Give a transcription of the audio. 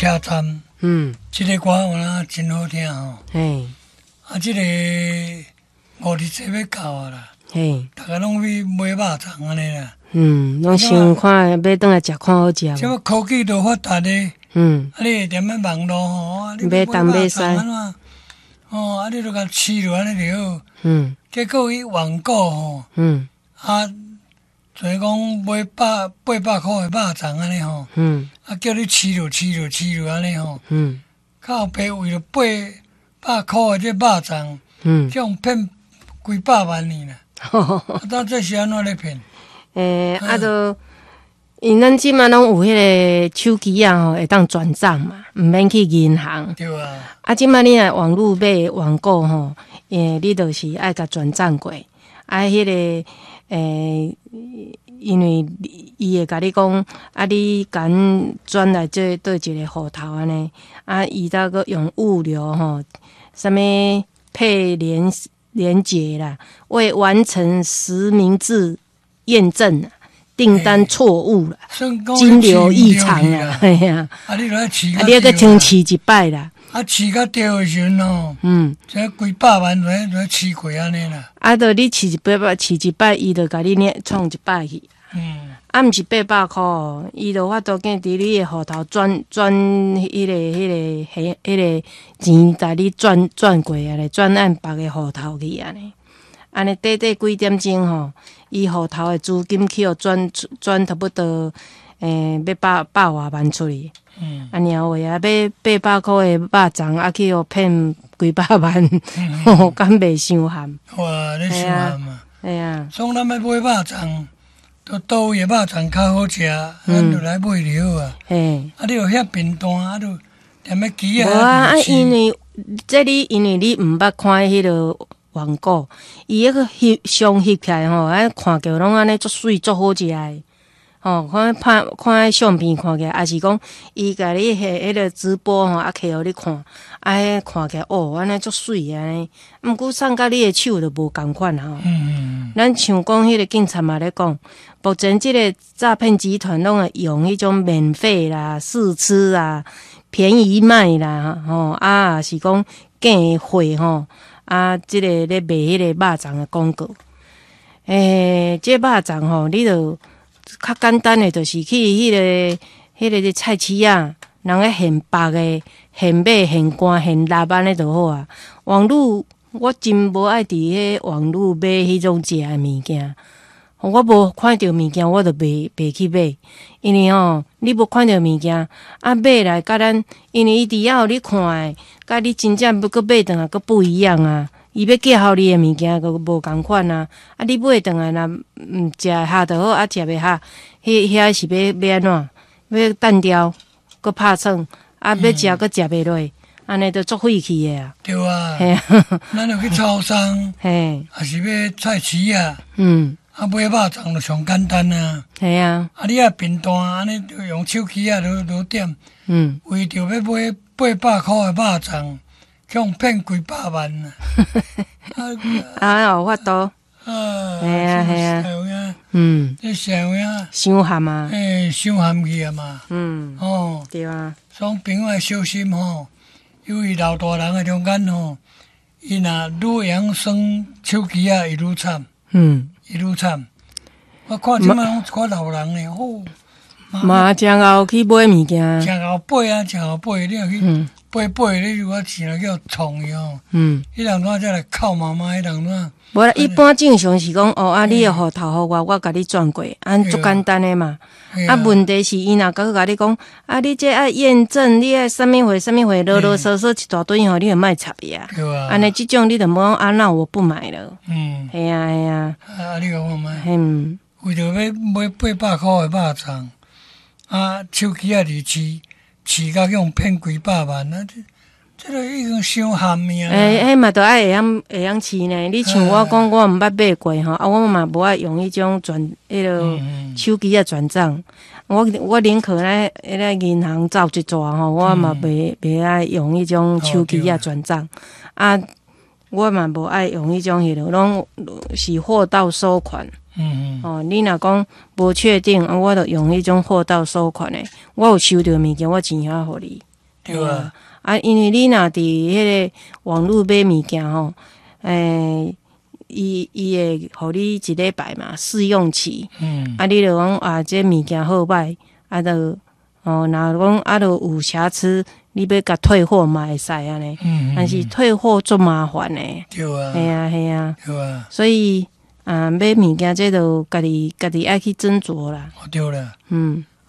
車站，這个歌有影真好聽吼。啊，這个五日節欲到啊啦，逐家攏去買肉粽按呢啦。嗯，攏想看欲轉來食看好食無。這科技都發達咧，啊，你會踮咧網路吼，啊，你欲買肉粽按怎？哦，啊，你就共飼落按呢就好。結果伊網購吼，啊，就是講買百八百箍的肉粽按呢吼，啊，叫你飼落飼落飼落按呢吼，靠爸為著八百箍的這肉粽，去予騙幾百萬呢啦。啊，這是按怎咧騙？欸，啊，都，因咱這馬攏有彼个手機仔吼，會當轉帳嘛，毋免去銀行。對啊。啊，這馬你若網路買網購吼，欸，你就是愛共轉帳過，啊，彼个，欸，因為伊會共你講，啊，你共轉來這佗一個戶頭按呢，啊，伊才閣用物流吼，啥物配連連結啦，未完成實名制驗證，訂單錯誤啦，金流異常啊，嘿啊，啊，你著愛飼，啊，你愛閣重飼一擺啦。啊，飼甲著的時陣吼，這幾百萬就飼過按呢啦。啊，著你飼一擺擺，飼一擺，伊就共你領創一擺去。啊，毋是八百箍，伊就法度見佇你的戶頭轉轉彼个彼个彼彼个錢，共你轉轉過來咧，轉按別个戶頭去按呢。按呢短短幾點鐘吼，伊戶頭的資金去予轉轉差不多，欸，欲百百外萬出去。按呢話啊，買八百箍的肉粽，啊去予騙幾百萬，敢袂傷譀？哇，你傷譀啊！嘿啊。所以咱欲買肉粽，都佗位的肉粽較好食，咱就來買就好啊。啊，你若遐便當，啊，就踮咧機仔。無啊，啊，因為這你因為你毋捌看彼个網購，伊彼个翕相翕起來吼，啊，看起來攏按呢足媠足好食的，吼，看拍看彼相片看起來，抑是講伊共你彼彼个直播吼，啊，摕予你看，啊，彼看起來哦，按呢足媠按呢，毋過送到你的手就無仝款吼。咱像講彼个警察嘛咧講，目前這个詐騙集團攏會用彼種免費啦、試吃啊、便宜賣啦，吼，啊，是講假貨吼。啊，這个咧賣彼个肉粽的廣告，欸，這个肉粽吼，你著較簡單的，就是去彼个彼个菜市仔，人咧現縛的、現買、現乾、現臘按呢就好啊。網路我真無愛佇彼網路買彼種食的物件，我無看著物件，我就袂袂去買，因為吼，你無看著物件，啊買來佮咱，因為伊佇遐予你看的，佮你真正欲閣買轉來閣不一樣啊！伊欲寄予你的物件閣無仝款啊！啊，你買轉來若毋食會合就好，啊食袂合，彼遐是欲欲按怎？欲擲掉，閣拍算，啊欲食閣食袂落，按呢就足費氣的啊！對啊，咱著去超商，抑是欲菜市仔，啊買肉粽就上簡單啊！嘿啊！啊你若便當按呢用手機仔就就點，為著欲買八百箍的肉粽，去予騙幾百萬啊！啊，有法度。啊，嘿啊嘿啊，這社會啊，傷譀啊！欸，傷譀去啊嘛！哦，對啊。所以朋友愛小心吼，由於老大人的中間吼，伊若愈會曉耍手機仔，伊愈慘。伊愈慘。我看這擺攏一寡老人呢，吼。嘛誠𠢕去買物件。誠𠢕買啊，誠𠢕買，你若去買買，你如果錢若叫創去吼，彼人怎才來哭媽媽？彼人怎？無啦，一般正常是講哦，啊，你的戶頭予我，我共你轉過，按足簡單的嘛。啊，問題是伊若閣共你講，啊，你這愛驗證，你愛啥物貨啥物貨，囉囉嗦嗦一大堆吼，你就莫插伊啊。按呢這種你就無啊，那我不買了。嘿啊嘿啊。啊，你講看覓？為著欲買八百箍的肉粽，啊，手機仔佇飼飼甲去予騙幾百萬啊！這這個已經傷譀命。欸，彼嘛著愛會曉會曉飼呢。你像我講，我毋捌買過吼，啊，我嘛無愛用彼種轉彼个手機仔轉帳。我我寧可咧，彼个銀行走一逝吼，我嘛袂袂愛用彼種手機仔轉帳。啊，我嘛無愛用彼種彼落，攏是貨到收款。哦，你若講無確定，啊，我就用彼種貨到收款的。我有收著物件，我錢還予你。對啊。啊，因為你若佇彼個網路買物件吼，伊會予你一禮拜嘛試用期。啊，你就講啊，這物件好䆀，啊，就哦，若講啊，著有瑕疵，你欲共退貨嘛會使按呢。但是退貨足麻煩的。對啊。係啊，係啊。對啊。所以啊，買物件這就家己家己愛去斟酌啦。對啦。